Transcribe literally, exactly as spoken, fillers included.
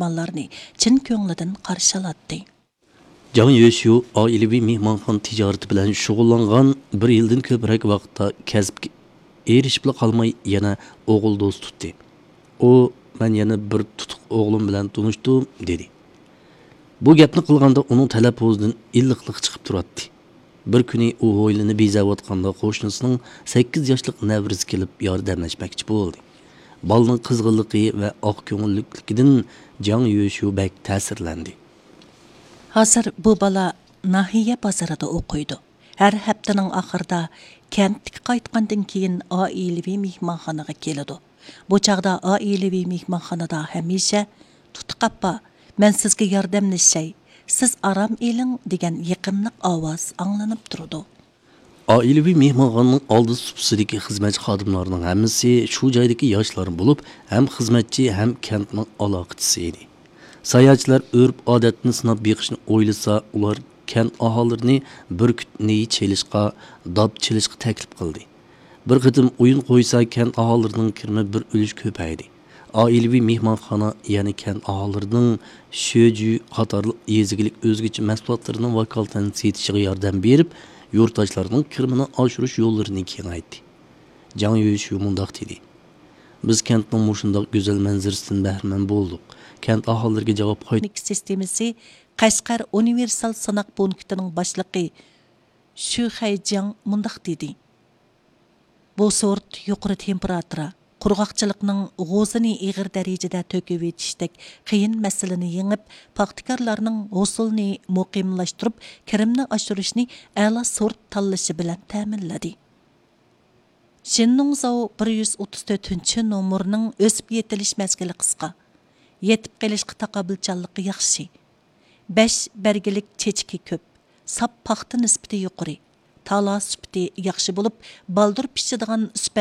مېھمانلارنى چىن كۆڭلىدىن قارشى ئالاتتى. جاڭ يۆشيۇ ئائىلىۋى مېھمانخانا تىجارىتى بىلەن شۇغۇللانغان بىر يىلدىن كۆپرەك ۋاقىتتا كەسىپكە ئېرىشىپلا قالماي، يەنە ئوغۇل دوست تۇتتى. ئۇ، «مەن يەنە بىر تۇتۇق ئوغلۇم بىلەن تونۇشتۇم» دېدى. بۇ گەپنى قىلغاندا ئۇنىڭ تەلەپپۇزىدىن ئىللىقلىق چىقىپ تۇراتتى. بىر كۈنى ئۇ ھويلىنى بېزەۋاتقاندا قوشنىسىنىڭ سەككىز ياشلىق نەۋرىسى كېلىپ ياردەملەشمەكچى بولدى. بالىنىڭ قىزغىنلىقى ۋە ئاق كۆڭۈللۈكلۈكىدىن جاڭ يۆشيۇ بەك تەسىرلەندى. ھازىر بۇ بالا ناھىيە بازىرىدا ئوقۇيدۇ. ھەر ھەپتىنىڭ ئاخىرىدا كەنتكە قايتقاندىن كېيىن ئائىلىۋى مېھمانخانىغا كېلىدۇ. بۇ چاغدا ئائىلىۋى مېھمانخانىدا ھەمىشە، «تۇتۇق ئاپا، مەن سىزگە ياردەملىشەي، سىز ئارام ئېلىڭ» دېگەن يېقىملىق ئاۋاز ئاڭلىنىپ تۇرىدۇ. ئائىلىۋى مېھمانخانىنىڭ ئالدى سۇپىسىدىكى خىزمەتچى خادىملارنىڭ ھەممىسى شۇ جايدىكى ياشلار بولۇپ، ھەم خىزمەتچى، ھەم كەنتنىڭ ئالاقىچىسى ئىدى. ساياھەتچىلەر ئۆرپ-ئادەتنى سىناپ بېقىشنى ئويلىسا، ئۇلار كەنت ئاھالىلىرىنى بۈركۈت نېيى چېلىشقا، داپ چېلىشقا تەكلىپ قىلدى. بىر قېتىم ئويۇن قويسا، كەنت ئاھالىلىرىنىڭ كىرىمى بىر ئۈلۈش كۆپەيدى. ئائىلىۋى مېھمانخانا يەنە كەنت ئاھالىلىرىنىڭ شۆجۈ قاتارلىق يېزا ئىگىلىك ئۆزگىچە مەھسۇلاتلىرىنىڭ ۋاكالىتەن سېتىشىغا ياردەم بېرىپ، يۇرتداشلارنىڭ كىرىمىنى ئاشۇرۇش يوللىرىنى كېڭەيتتى. جاڭ يۆشيۇ مۇنداق دېدى: «بىز كەنتنىڭ مۇشۇنداق گۈزەل مەنزىرىسىدىن بەھرىمەن بولدۇق. كەنت ئاھالىلىرىگە جاۋاب قايت-» سىستېمىسى قەشقەر ئۇنىۋېرسال سىناق پونكىتىنىڭ باشلىقى شۈ خەيجياڭ مۇنداق دېدى: «بۇ سورت يۇقىرى تېمپېراتۇرا، قۇرغاقچىلىقنىڭ غوزىنى ئېغىر دەرىجىدە تۆكۈۋېتىشتەك قىيىن مەسىلىنى يېڭىپ، پاختىكارلارنىڭ ھوسۇلىنى مۇقىملاشتۇرۇپ، كىرىمنى ئاشۇرۇشنى ئەلا سورت تاللىشى بىلەن تەمىنلىدى.» شىننۇڭزاۋ بىر يۈز ئوتتۇز تۆتىنچى نومۇرنىڭ ئۆسۈپ يېتىلىش مەزگىلى قىسقا، يېتىپ قېلىشقا تاقابىلچانلىقى ياخشى. بەش بەرگىلىك چېچىكى كۆپ، ساپ پاختا نىسبىتى يۇقىرى، تالا سۈپىتى ياخشى بولۇپ، بالدۇر پىشىدىغان سۈپەت